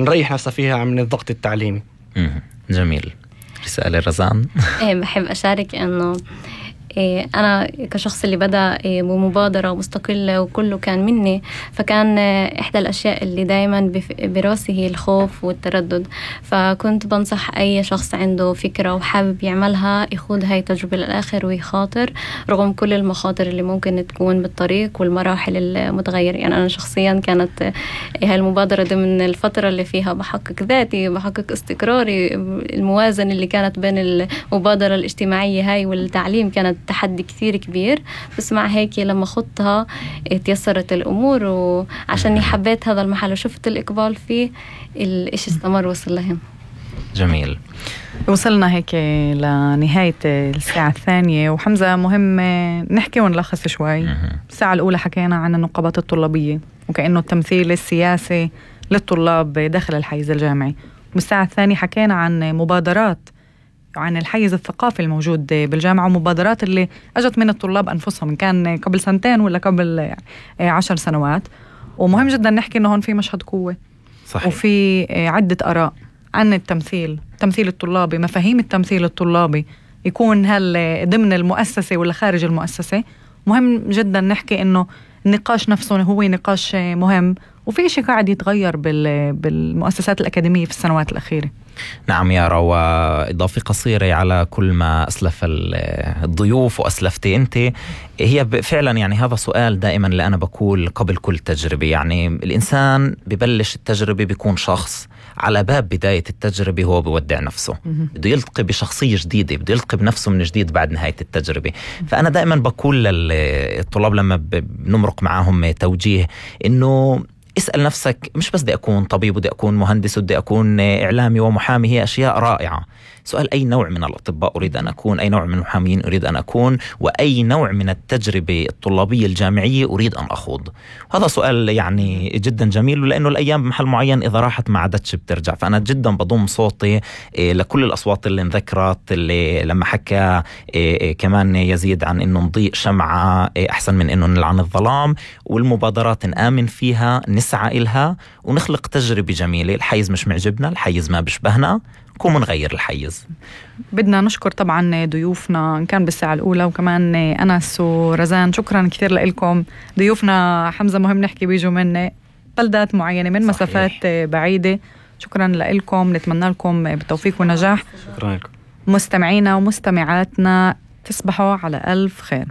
نريح نفسها فيها من الضغط التعليمي. جميل. رسالة رزان. بحب أشارك إنه أنا كشخص اللي بدأ بمبادرة مستقلة وكله كان مني، فكان إحدى الأشياء اللي دايما براسي هي الخوف والتردد. فكنت بنصح أي شخص عنده فكرة وحابب يعملها يخوض هاي التجربة للآخر ويخاطر رغم كل المخاطر اللي ممكن تكون بالطريق والمراحل المتغيرة. يعني أنا شخصيا كانت هاي المبادرة ضمن الفترة اللي فيها بحقق ذاتي، بحقق استقراري، الموازنة اللي كانت بين المبادرة الاجتماعية هاي والتعليم كانت تحدي كثير كبير، بس مع هيك لما خضتها تيسرت الأمور، وعشان حبيت هذا المحل وشفت الإقبال فيه الإشي استمر وصل لهم. جميل. وصلنا هيك لنهاية الساعة الثانية، وحمزة مهم نحكي ونلخص شوي. الساعة الأولى حكينا عن النقابات الطلابية وكأنه التمثيل السياسي للطلاب داخل الحيز الجامعي، والساعة الثانية حكينا عن مبادرات عن الحيز الثقافي الموجود بالجامعة ومبادرات اللي أجت من الطلاب أنفسهم، إن كان قبل 2 ولا قبل 10 سنوات. ومهم جدا نحكي إنه هون في مشهد قوة. صحيح. وفي عدة آراء عن التمثيل الطلابي، مفاهيم التمثيل الطلابي، يكون هل ضمن المؤسسة ولا خارج المؤسسة. مهم جدا نحكي إنه النقاش نفسه هو نقاش مهم، وفي شيء قاعد يتغير بالمؤسسات الأكاديمية في السنوات الأخيرة. نعم يارا، وإضافة قصيرة على كل ما أسلف الضيوف وأسلفتي أنت، هي فعلا يعني هذا سؤال دائما اللي أنا بقول قبل كل تجربة. يعني الإنسان ببلش التجربة بيكون شخص، على باب بداية التجربة هو بودع نفسه، بده يلتقي بشخصية جديدة، بده يلتقي بنفسه من جديد بعد نهاية التجربة. فأنا دائما بقول للطلاب لما بنمرق معهم توجيه إنه اسأل نفسك، مش بس بدي أكون طبيب ودي أكون مهندس ودي أكون إعلامي ومحامي، هي أشياء رائعة. سؤال أي نوع من الأطباء أريد أن أكون، أي نوع من المحامين أريد أن أكون، وأي نوع من التجربة الطلابية الجامعية أريد أن أخوض. هذا سؤال يعني جدا جميل، لأنه الأيام بمحل معين إذا راحت ما عادتش بترجع. فأنا جدا بضم صوتي لكل الأصوات اللي انذكرت، اللي لما حكى كمان يزيد عن إنه نضيء شمعة أحسن من إنه نلعن الظلام، والمبادرات نآمن فيها، نسعى إلها ونخلق تجربة جميلة. الحيز مش معجبنا، الحيز ما بشبهنا، كون نغير الحيز. بدنا نشكر طبعا ضيوفنا إن كان بالساعة الأولى، وكمان أنس ورزان. شكرا كثير لكم ضيوفنا. حمزة مهم نحكي بيجوا من بلدات معينة، من مسافات بعيدة. شكرا لكم، نتمنى لكم بالتوفيق والنجاح. شكرا لكم مستمعينا ومستمعاتنا، تصبحوا على ألف خير.